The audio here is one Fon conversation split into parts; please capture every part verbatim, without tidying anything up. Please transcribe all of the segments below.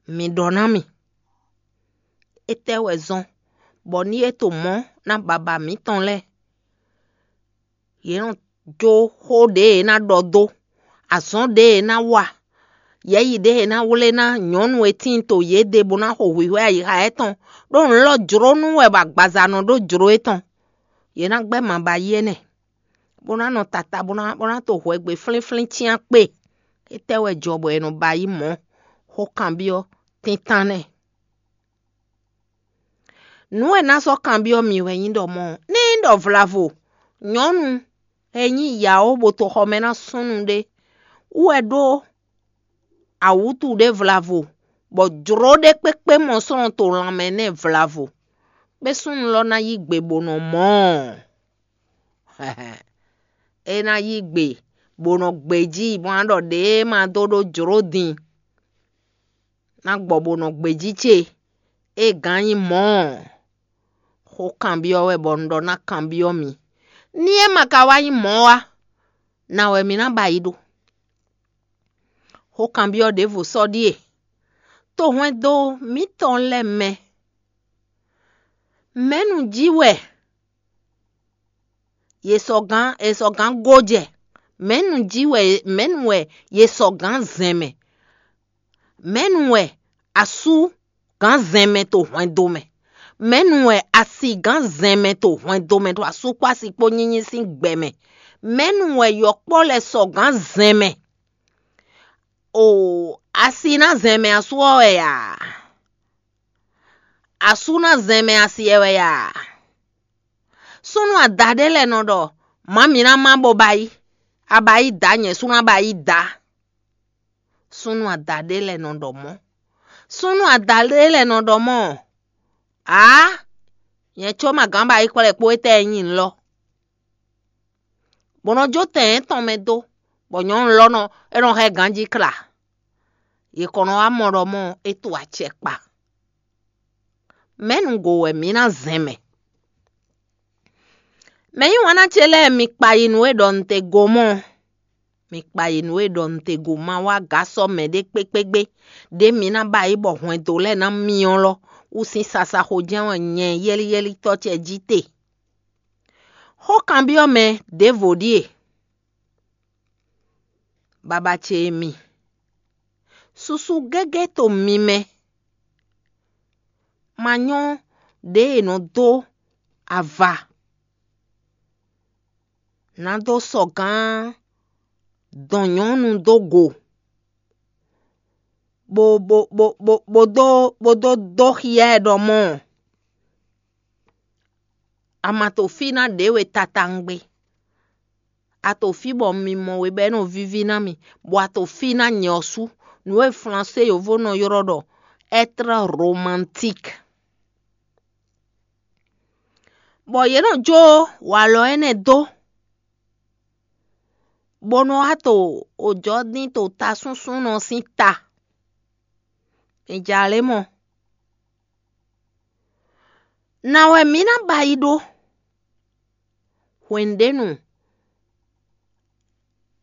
Mi ɖɔ ná mì, étɛ́ wɛ zɔ́n bɔ ní é to mɔ̌ ná baba mǐtɔn lɛ́ɛ? Yě nɔ jó xó ɖě è nǎ ɖɔ dó, azɔ̌ ɖě è nǎ wa, yɛ̌yi ɖě è nǎ wlé ná nyɔ̌nu e tíin to yěɖée bó ná xo hwǐhwɛ́ ayixa étɔn, ɖó nǔ lɔ jló nú wɛ bɔ agbaza nɔ ɖó jló étɔn. Yě ná gbɛ́ maba yi énɛ́, bó ná nɔ tata bó ná bó ná to hwɛgbe flínflín cyán kpé. Étɛ́ wɛ jɔ bɔ è nɔ ba yí mɔ̌? Xó kanbyɔ́ tíntán nɛ́. Nǔ e ná sɔ́ kanbyɔ́ mì wɛ nyí ɖɔ mɔ̌, ní nyí ɖɔ vlavo nyɔ̌nu e nyí yǎó bó to xɔ mɛ ná súnnu ɖé wú wɛ ɖó awǔtu ɖé vlavo, bɔ jlǒ ɖé kpékpé mɔ slɔ́n to lanmɛ nɛ́ vlavo, kpé súnnu lɔ ná yí gbe bó nɔ mɔ̌ ɔ́. É ná yí gbe bó nɔ gbejí bó ná ɖɔ ɖěe ma dó ɖó jlǒ din, ná gbɔ bó nɔ gbejí ce. É gǎn nyí mɔ̌ ɔ́, xó kanbyɔ́ wɛ bɔ un ɖɔ ná kanbyɔ́ mi. Ní é ma ka wá nyí mɔ̌ ɔ́, na wɛ mi ná ba yi ɖó? Xó kanbyɔ́ ɖěvo sɔ́ ɖíe: to hwɛndo mǐtɔn lɛ́ɛ mɛ, mɛ̌nu jí wɛ yě sɔgán è sɔgán gó jɛ? Mɛ̌nu jí wɛ mɛ̌nu wɛ yě sɔgán zɛn mɛ? Mɛ̌nu wɛ asú gán zɛn mɛ to hwɛndo mɛ? Mɛ̌nu wɛ asi gán zɛn mɛ to hwɛndo mɛ, to asú kpó asi kpó nyínyí sín gbɛ mɛ? Mɛ̌nu wɛ yɔkpɔ́ lɛ́ɛ sɔgán zɛn mɛ? O, asi ná zɛn mɛ asú ɔ́ wɛ a? Asú ná zɛn mɛ asi ɛ wɛ a? Súnnu ada ɖé lɛ́ɛ nɔ ɖɔ: "Mǎ mi ná má bó ba yí, a ba yí dǎ, nyɛ sú ná ba yí dǎ." Súnnu ada ɖé lɛ́ɛ nɔ ɖɔ mɔ̌. Súnnu ada ɖé lɛ́ɛ nɔ ɖɔ mɔ̌: "Ǎ, nyɛ có ma gǎn ba yí kplɛ́ kpó étɛ́ e nyí lɔ." Bó nɔ jó tɛn yětɔn mɛ dó, bɔ nyɔ̌nu lɔ nɔ é nɔ hɛn ganjí kla. Yě kɔn nɔ wá mɔ ɖɔ mɔ̌ é to acɛ kpa. Mɛ̌ nǔgbó wɛ mǐ ná zɛn mɛ? Mɛ̌ yí wǎn ná ce lɛ́ɛ, mi kpa yi nǔ e ɖɔ un te go mɔ̌. Mi kpa yi nǔ e ɖɔ un te go ma wá gǎ sɔ́ mɛɖé kpékpégbé, ɖě mi ná ba yí bɔ hwɛndo lɛ́ɛ ná myɔ lɔ wú sín sasaxo jɛ́n wɛ nyɛ yɛ́líyɛ́lítɔ́ ce jí te. Xó kanbyɔ́ mɛ ɖěvo ɖíe: Baba ce e mi, susu gégé to mi mɛ, ma nyɔ́ ɖěe è nɔ dó ava, nǎ dó sɔgán dɔn nyɔ̌nu dó go, bó bó bó bó bó dó bó dó dó xyá ɛ ɖɔ mɔ̌. A ma to fí ná ɖě we tataŋgbé. A to fí bɔ mi mɔ we bɔ é nɔ víví ná mi, bɔ a to fí ná nyɛ ɔ́ sú, nǔ e flansé yǒvo nɔ ylɔ́ ɖɔ être romantique. Bɔ yě nɔ jó walɔ énɛ́ dó, bó nɔ wá to òjɔ́ dín to tasúnsúnnɔ sín ta. Mi ja lě mɔ. Nǎ wɛ mǐ ná ba yi ɖó? Hwenu ɖé nu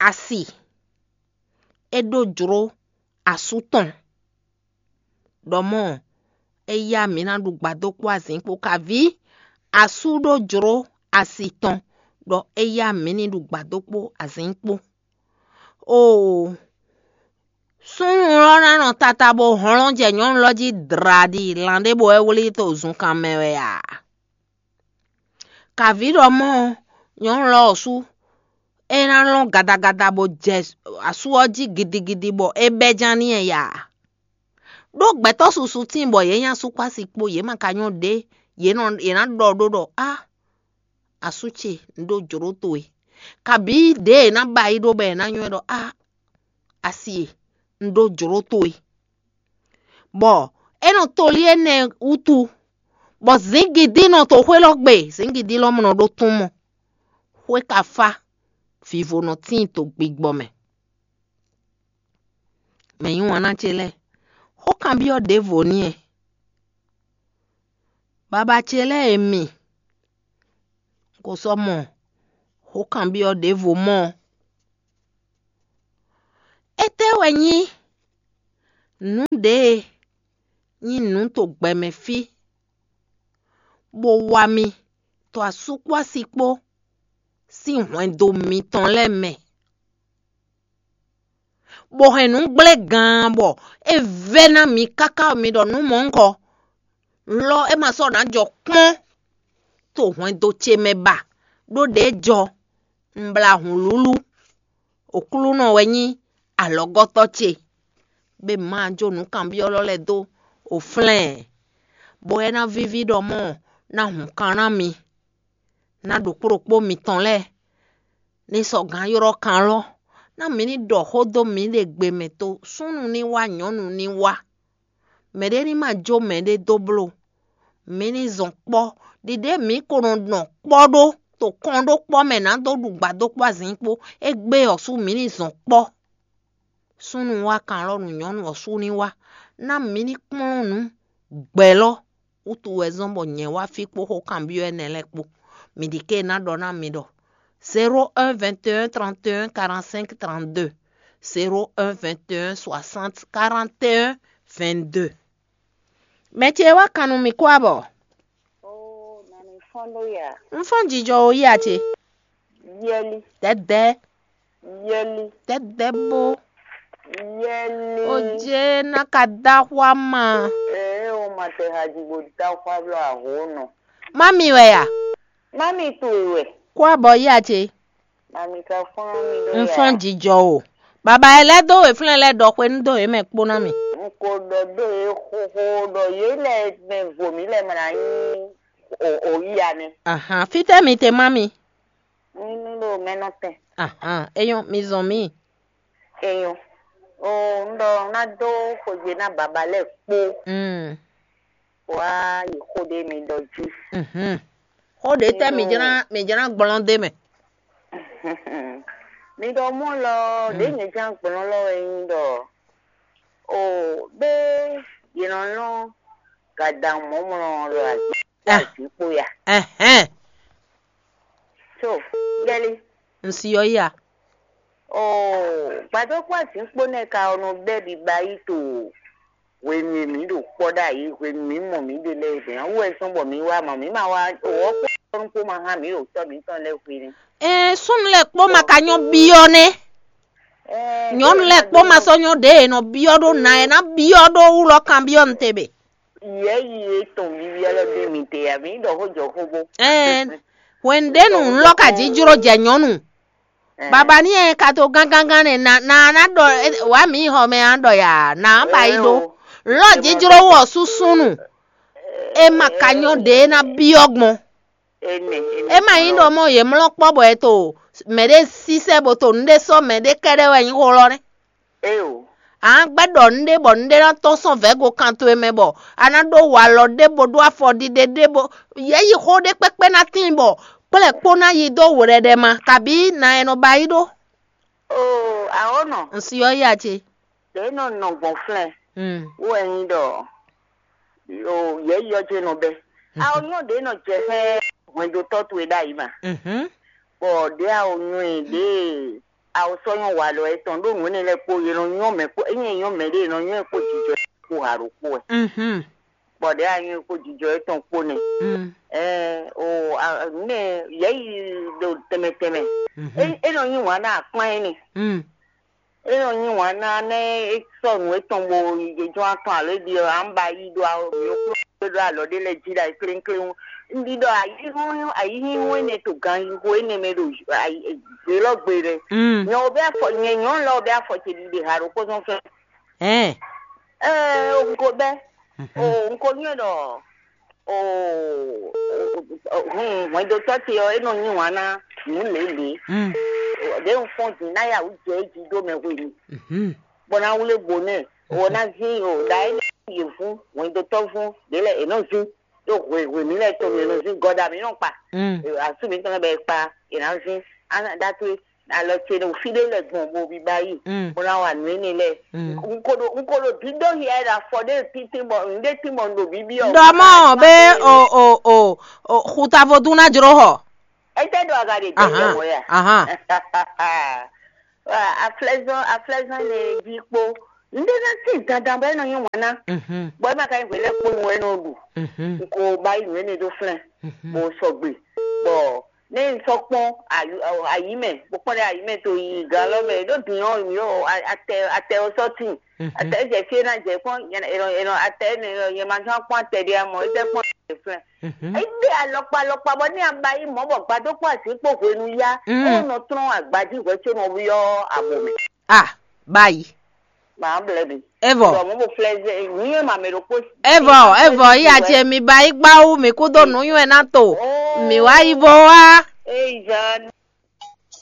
asi é ɖó jló asú tɔn, ɖɔ mɔ̌ é yá mǐ ná ɖu gbadó kpó azǐn kpó. Kaví asú ɖó jló asi tɔn, ɖɔ é yá mǐ ní ɖu gbadó kpó azǐn kpó. Oo, súnnu lɔ ná nɔ tata bó hlɔ́n jɛ nyɔ̌nu lɔ jí dlǎɖi, lan ɖěbǔ wɛ wlí to zunkan mɛ wɛ a? Kaví ɖɔ mɔ̌, nyɔ̌nu lɔ ɔ́ sú, é ná lɔn gadagada bó jɛ asú ɔ́ jí gidigidi bɔ é bɛ́ ján n'i ya. Ɖó gbɛtɔ́ susu tíin bɔ yě nyí asú kpó asi kpó, yě ma ka nyɔ́ ɖě, yě nɔ yě ná ɖɔ ɖó ɖɔ: "Á, asú ce, un ɖó jlǒ towe." Kabǐ ɖěe è nǎ ba yi ɖó bɔ è nǎ nywɛ́ ɖɔ: "Á, asi e, un ɖó jlǒ towe." Bɔ é nɔ tolí énɛ́ wútu, bɔ zǐngídi nɔ to xwé lɔ gbe, zǐngídi lɔ mɔ nɔ ɖó tún mɔ. Xwé ka fá, vivo nɔ tíin to gbigbɔ mɛ. Mɛ yí wǎn ná ce lɛ́ɛ, xó kanbyɔ́ ɖěvo n'i wɛ. Baba ce lɛ́ɛ e mi, ko sɔ́ mɔ xó kanbyɔ́ ɖěvo mɔ́ ɔ́. Étɛ́ wɛ nyí nǔ ɖě e nyi nǔ to gbɛ mɛ fí, bó wá mì to asú kpó asi kpó sín hwɛndo mitɔn lɛ́ɛ mɛ, bó hɛn nǔ gblé gaan bɔ é vɛ́ ná mi káká bɔ mi ɖɔ nǔ mɔ̌hunkɔ. Lɔ é ma sɔ́ ná jɔ kpɔ́n to hwɛndo ce mɛ ba, ɖó ɖěe jɔ un blá hǔnlúlú. Oklúnɔ wɛ nyí alɔgɔ́tɔ́ ce, bɔ è ma jó nǔkanbyɔ́ lɛ́ɛ dó oflɛ́n ɛ, bɔ é ná víví ɖɔ mɔ̌ ná hun kan ná mi, ná ɖokpó ɖokpó mitɔn lɛ́ɛ ní sɔ́ gǎn ylɔ́ kan lɔ́, ná mi ní ɖɔ xó dó mǐɖée gbe mɛ to súnnu ní wá nyɔ̌nu ní wá. Mɛɖé ní ma jó mɛɖé dó bló. Mǐ ní zɔn kpɔ́, ɖiɖě mǐ ko nɔ nɔ kpɔ́ ɖó to kɔn ɖó kpɔ́ mɛ nǎ dó ɖu gbǎ dó kpó azǐn kpó. Égbé ɔ́ sú mǐ ní zɔn kpɔ́. Súnnu wá kan alɔ nú nyɔ̌nu ɔ́ sú ní wá, ná mǐ ní kplɔ́n nǔ gbɛ̌lɔ́ wútu wɛ zɔ́n bɔ nyɛ wá fí kpó xó kanbyɔ́ énɛ́ lɛ́ɛ kpó. Mǐ ɖi ké ná ɖɔ ná mi ɖɔ: zéro un vingt et un trente et un quarante-cinq trente-deux, zéro un vingt et un soixante quarante et un vingt-deux. Mɛ ce wá kan nú mì kó abɔ. Oo, na mi fɔ́n ɖó ya. Un fɔ́n jijɔ o yí a ce. Yɛli. Dɛdɛ. Yɛli. Dɛdɛ bo. Yɛli. O je na ka da xwa ma. Ee, o ma tɛ haji bo da xwa blɔ aho nɔ. Mami wɛ ya. Mami towe wɛ. Kó abɔ yí a ce. Mami ka fɔ́n mi ɖó Un ya. Fɔ́n jijɔ o. Baba e lɛ́ dó wěflɛ́n lɛ́ ɖɔ xwe nú dó yě mɛ kpó ná mi. Un ko ɖɔ dó yě xóxó ɖɔ yě lɛ mɛ vo mǐ lɛ mlá nyí o o yí ya nɛ. Ahan, fítɛ́ mi te má mi. Ní ní ɖo mɛnɔ tɛn. Ahan, é nyɔ́, mi zɔn mì. Enyɔ. O un ɖɔ un ná dó xwegbe ná baba lɛ́ɛ kpó. Mm. Wá yi xó ɖé mi ɖɔ jí. Mhm. Xó ɖě tɛ́ mi jlá mi jlá gblɔ́n dé mɛ. Mi ɖɔ mɔ lɔ ɖě nyɛ ján gblɔ́n lɔ wɛ nyí ɖɔ o bé yě nɔ lɔn gadaŋ mɔ̌mlɔ lɔ azǐ Ah. Azǐ kpo ya. Ɛhɛn. So yɛli. N si ɔ́ ya. Oo, gbadó kpó azǐn kpó nɛ́ ka ɔ́ nɔ bɛ́ ɖiɖa yí to hwenu e mǐ ɖo kpɔ́ ɖ'ayǐ, hwenu mǐ mɔ mǐɖée lɛ́ɛ bɛ̌ ɔ́ wú wɛ zɔ́n bɔ mǐ wá mɔ mǐ ma wá o ɔ́ kpó ɔ́ kpó ma hán mǐ ɖo tɔ́ mǐtɔn lɛ́ɛ hwenu. Ɛɛ súnnu lɛ́ɛ kpó ma ka nyɔ́ byɔ́ nɛ́. Ɛɛ, Nyɔ̌nu lɛ́ɛ kpó ma sɔ́ nyɔ́ ɖě e nɔ byɔ́ ɖó ná e ná byɔ́ ɖó wú lɔ kanbyɔ́ nu te bě. Yɛ̌yi e tɔn vivi ɔ́ lɔ dó mi te ǎ, mǐ ɖɔ xó jɔ xó bó. Ɛɛ hwenu ɖě nu un lɔ ka jǐ jló jɛ nyɔ̌nu. Baba ní e ka to gángángán nɛ na na na ɖɔ wǎ mǐ xɔ mɛ a ɖɔ ya na ba yi ɖó. Lɔ jijló wɔ súsúnu. E ma ka nyɔ́ ɖě e ná byɔ́ gbɔn. É ma nyí ɖɔ mɔ yě mlɔ́ kpɔ́ bɔ è to mɛɖé sísɛ́ bó to nǔɖé sɔ́ mɛɖé kɛ́ɖɛ́ wɛ nyí xó lɔ nɛ́. Éyo. A nǎ gbɛ́ ɖɔ nǔɖé bɔ nǔɖé ná tɔ́n sɔ́ vɛ̌go kan towe mɛ bɔ a ná ɖó walɔ ɖé bó ɖó afɔ ɖiɖe ɖé bó yě yi xó ɖé kpɛ́kpɛ́ ná tíin bɔ kplɛ́ kpó ná yi dó wlɛɖɛ ma kabǐ na ɛ nɔ ba yi ɖó. Oo, awɔ̌nɔ. Un si ɔ́ ya ce. Ɖě nɔ nɔ gbɔn flɛ́n. Mm. Wú wɛ nyí ɖɔ o yɛ̌yi ɔ́ jɛ́n nɔ bɛ́. Awo nyɔ ɖě nɔ jɛ xlɛ́ hwɛndotɔ́ towe ɖ'ayǐ ma. Mhm. Bɔ ɖě awo nyɔ e ɖě awo sɔ́ nyɔ walɔ etɔn ɖó nǔ énɛ́ lɛ́ɛ kpó yě nɔ nyɔ́ mɛ kpó ényí è nyɔ́ mɛ ɖé è nɔ nyɔ́ ɛ kpó jijɔ kpó ha ɖokpó wɛ. Mhm. Bɔ ɖě a nyɔ́ ɛ kpó jijɔ etɔn kpó nɛ́. Mm. Ɛ o a- nɛ yɛ̌yi ɖo tɛnmɛ tɛnmɛ. Mhm. É é nɔ nyí wǎn ná akpán énɛ́. Mm. É nɔ nyí wǎn ná nɛ́ é sɔ́ nǔ étɔn bo yi jínjɔ́n atɔn alo é ɖi ɔ́, à ń ba yí ɖó awo mǐ kplɔ́n ɖó alɔ ɖé lɛ́ɛ jí ɖo ayǐkléŋkléŋ. Un ɖi ɖɔ ayǐhɔ́n ayǐhínhɔ́n énɛ́ to ganxixo énɛ́ mɛ ɖo ayǐ- gbě lɔ́ gbe lɛ. Mm. Nyɛ wo bɛ afɔ nyɛ nyɔ̌nu lɔ wo bɛ afɔ ce ɖiɖe ha ɖokpó zɔn fɛ́n. Ɛɛ. Ɛɛ, un ko bɛ. Mhm. O un ko nyɔ́ ɖɔ o hun hwɛndotɔ́ ce ɔ́ é nɔ nyí wǎn ná nǔ lělě. Mm. Ɖě un fɔ́n din ná ya wǔ jɛ é jí dó mɛ hwenu. Mhm. Bɔ ná wlé bo nɛ o ná zín o ɖa é yě vún hwɛndotɔ́ vún ɖě lɛ è nɔ zín ɖó hwe hwe mǐ lɛ tɔn mǐ è nɔ zín gɔda mǐ nɔ kpa. Mm. Asú mǐtɔn lɛ bɛ kpa è nǎ zín ana ɖa towe alɔ ce ɖo fí ɖé lɛ gbɔn bo biba yi. Mm. Bó ná wa nǔ énɛ́ lɛ. Mm. N ko ɖo n ko ɖo dídó hiɛ ɖo afɔ ɖé títí bɔ n ɖé tí bɔ n ɖo bíbí ɔ. Ɖɔ mɔ be o o o o xuta vodún ná jró xɔ. Ete ɖo aga ɖe dɛ Ahan, yɛ wɔ ya. Ahan. Aflɛzɔn aflɛzɔn ne jí kpó Un ɖe ná tín dandan bɔ é nɔ nyí wǎn ná. Mhm. Bɔ é ma ka nyí hwelɛ́kponu wɛ é nɔ ɖu. Mhm. Un ko ba yi nǔ énɛ́ ɖó flɛ́n. Mhm. Bó sɔgbe. Bɔ ne un sɔ́ kpɔ́n ayi mɛ, bó kpɔ́n ɖe ayi mɛ to yi gan lɔ mɛ ɖó din ɔ́ mi ɔ́ atɛ atɛ ɔ sɔ́ tín. Mhm. Atɛ jɛ fie ná jɛ kpɔ́n. Atɛ ne yɛ ma zɔn kpɔ́n atɛ ɖé amɔ é tɛ kpɔ́n atɛ flɛ́n. Mhm. Égbe alɔkpa alɔkpa bɔ ní a ba yi mɔ̌ bɔ gbadó kpó así kpó hwenu yá. Mm. É nɔ trɔ́n agbají hwɛ có nɔ byɔ́ abo mɛ. Ah, bayi. Màá blɛ́ mi. Evɔ. Bɔ mɔ̌ bo flɛ́ zɛ nǔnywɛ́ ma mɛ ɖokpó. Evɔ, evɔ, iya ce mi ba yi gbawu mi kú dó nǔnywɛ́ ná to. Oh. Mi wá yi bó wá. Eyi zan.